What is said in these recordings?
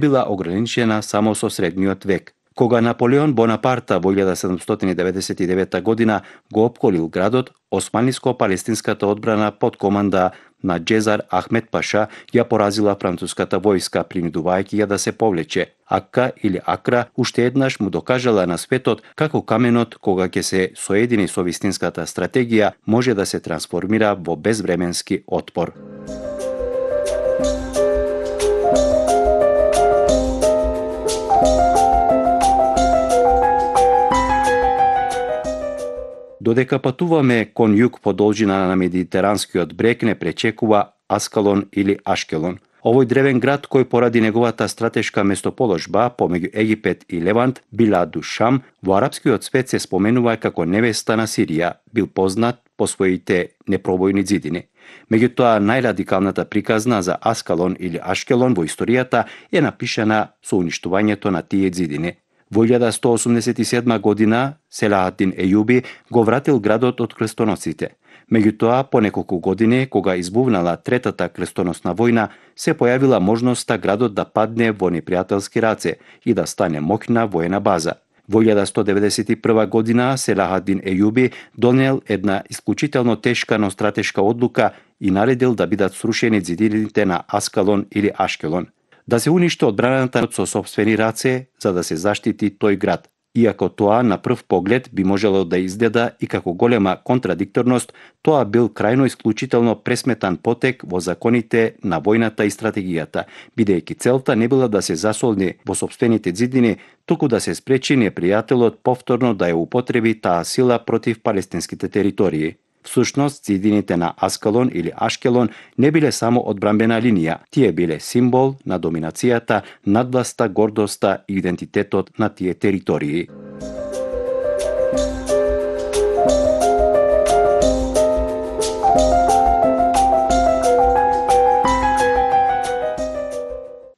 била ограничена само со средниот век. Кога Наполеон Бонапарта во 1799 година го опколил градот, османлиско-палестинската одбрана под команда на Џезар Ахмед Паша ја поразила француската војска, принудувајќи ја да се повлече. Акка или Акра уште еднаш му докажала на светот како каменот, кога ќе се соедини со вистинската стратегија, може да се трансформира во безвременски отпор. Додека патуваме кон југ по должина на Медитеранскиот брег, не пречекува Аскалон или Ашкелон. Овој древен град, кој поради неговата стратешка местоположба помеѓу Египет и Левант, Биладу Шам, во арапскиот свет се споменува како невеста на Сирија, бил познат по своите непробојни ѕидини. Меѓутоа, најрадикалната приказна за Аскалон или Ашкелон во историјата е напишана со уништувањето на тие ѕидини. Во 1187 година Селахадин Ејуби го вратил градот од крстоносците. Меѓутоа, по неколку години, кога избувнала третата крстоносна војна, се појавила можноста градот да падне во непријателски раце и да стане моќна воена база. Во 1191 година Селахадин Ејуби донел една исклучително тешка, но стратешка одлука и наредил да бидат срушени ѕидините на Аскалон или Ашкелон. Да се уништи одбраната со сопствени раце за да се заштити тој град. Иако тоа на прв поглед би можело да изгледа и како голема контрадикторност, тоа бил крајно исклучително пресметан потек во законите на војната и стратегијата, бидејќи целта не била да се засолни во сопствените ѕидини, туку да се спречи непријателот повторно да ја употреби таа сила против палестинските територии. Всушност, ѕидините на Аскалон или Ашкелон не биле само одбранбена линија, тие биле символ на доминацијата, надвласта, гордоста и идентитетот на тие територии.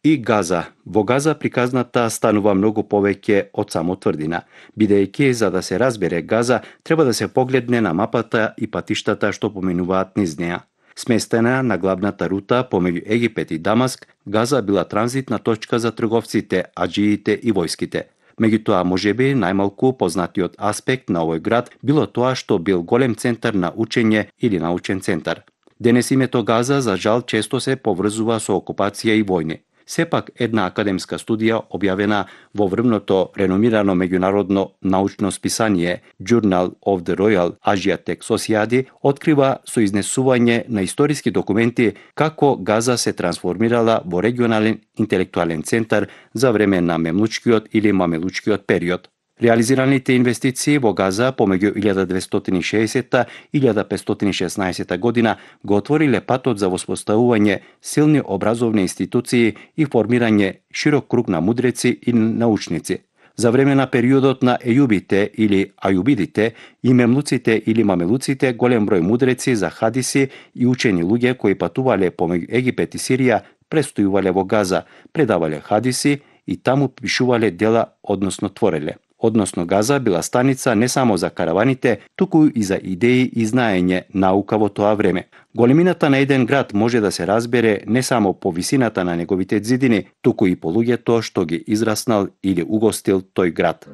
И Газа. Во Газа приказната станува многу повеќе од само тврдина, бидејќи за да се разбере Газа треба да се погледне на мапата и патиштата што поминуваат низ неа. Сместена на главната рута помеѓу Египет и Дамаск, Газа била транзитна точка за трговците, аџиите и војските. Меѓутоа, можеби најмалку познатиот аспект на овој град било тоа што бил голем центар на учење или научен центар. Денес името Газа за жал често се поврзува со окупација и војни. Сепак, една академска студија објавена во врвното реномирано меѓународно научно списание Journal of the Royal Asiatic Society открива со изнесување на историски документи како Газа се трансформирала во регионален интелектуален центар за време на мемлучкиот или мамелучкиот период. Реализираните инвестиции во Газа помеѓу 1260 и 1516 година го отвориле патот за воспоставување силни образовни институции и формирање широк круг на мудреци и научници. За време на периодот на Ејубите или Ајубидите и мемлуците или мамелуците, голем број мудреци за хадиси и учени луѓе кои патувале помеѓу Египет и Сирија престојувале во Газа, предавале хадиси и таму пишувале дела, односно твореле. Односно, Газа била станица не само за караваните, туку и за идеи и знаење наука во тоа време. Големината на еден град може да се разбере не само по висината на неговите ѕидини, туку и по луѓето што ги израснал или угостил тој град.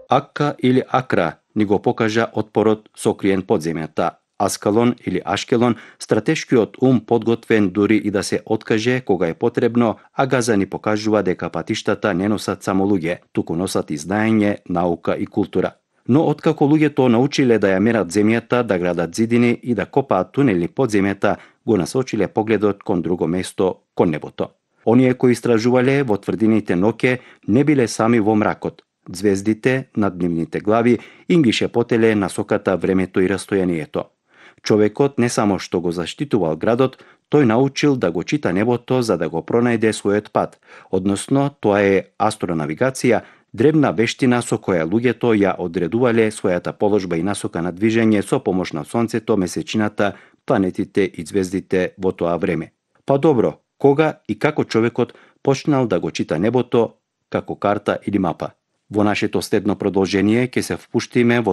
Акка или Акра ни го покажа отпорот сокриен под земјата. Аскалон или Ашкелон, стратешкиот ум подготвен дури и да се откаже кога е потребно, а Газа ни покажува дека патиштата не носат само луѓе, туку носат и знаење, наука и култура. Но откако луѓето научиле да ја мерат земјата, да градат ѕидини и да копаат тунели под земјата, го насочиле погледот кон друго место, кон небото. Оние кои истражувале во тврдините ноќе не биле сами во мракот. Звездите над нивните глави им ги шепотеле насоката, времето и растојанието. Човекот не само што го заштитувал градот, тој научил да го чита небото за да го пронајде својот пат, односно тоа е астронавигација, древна вештина со која луѓето ја одредувале својата положба и насока на движење со помош на сонцето, месечината, планетите и звездите во тоа време. Па добро, кога и како човекот почнал да го чита небото како карта или мапа? Во нашето следно продолжение ќе се впуштиме во